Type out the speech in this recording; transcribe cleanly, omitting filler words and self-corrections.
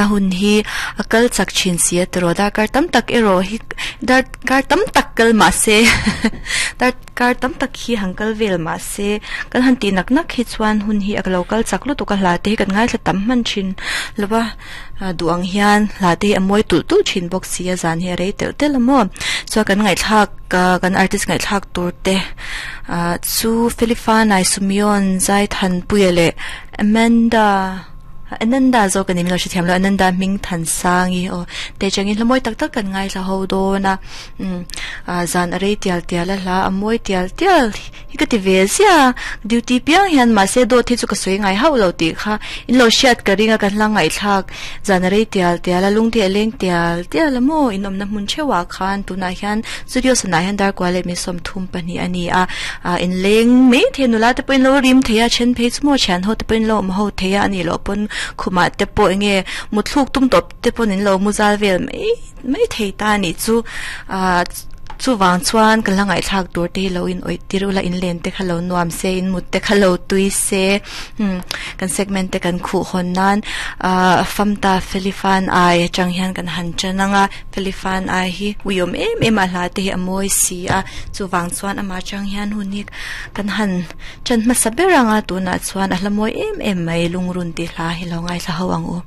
A hun hi a kal chak thin si a tiraw darkar tam tak erawh hi darkar tam tak kal mah se darkar tam tak hi han kal vel mah se kan han tih nak nak hi chuan hun hi a lo kal chak lutuk a hla te hi kan ngaithla tam hman thin lo va duh ang hian hla te hi a mawi tulh tulh thin bawk si a zan hi a rei telh telh a maw chuan kan ngaihthlak kan artist ngaihthlak tur te ah chu Felifa Naisumion Zaithanpuia leh Amanda. Ananda zawk a ni min lo hrethiam lo Ananda hming Thansangi aw te changin hla mawi tak tak kan ngaithla ho dawn a umm ah zan a rei tial tial a hla a mawi tial tial hi ka ti ve zia duty piang hian mahse dawt hi chu ka sawi ngai hauh lo tih kha in lo hriat ka ring a kan hla ngaihthlak zan a rei tial tial a lung te a leng tial tial a maw in awmna hmun theuhah khan tunah hian studio sanah hian darkua leh mi 32 a ni a ah inleng mai thei nula te pawhin lo rim thei a then phei chu maw thian ho te pawhin lo awm ho thei a anih loh pawn khumah te pawh eng nge mutthluk tum tawp te pawn in lo mu zal vel mai mai thei ta anih chu ah chuvang chuan ka la ngaihthlak tur te hi lo in awih tir ula inlen te kha lo nuam se in mut te kha lo tui se umm kan segment te kan khuh hawn nan ah famta felifan ai atang hian kan han tan ang a. Felifan ai hi uiawm em em a hla te hi a mawi si a chuvang chuan amah atang hian hun hi kan han tan hmasa ber ang a tunah chuan a hla mawi em em mai lungrun tih hla hi lo ngaithla ho ang u.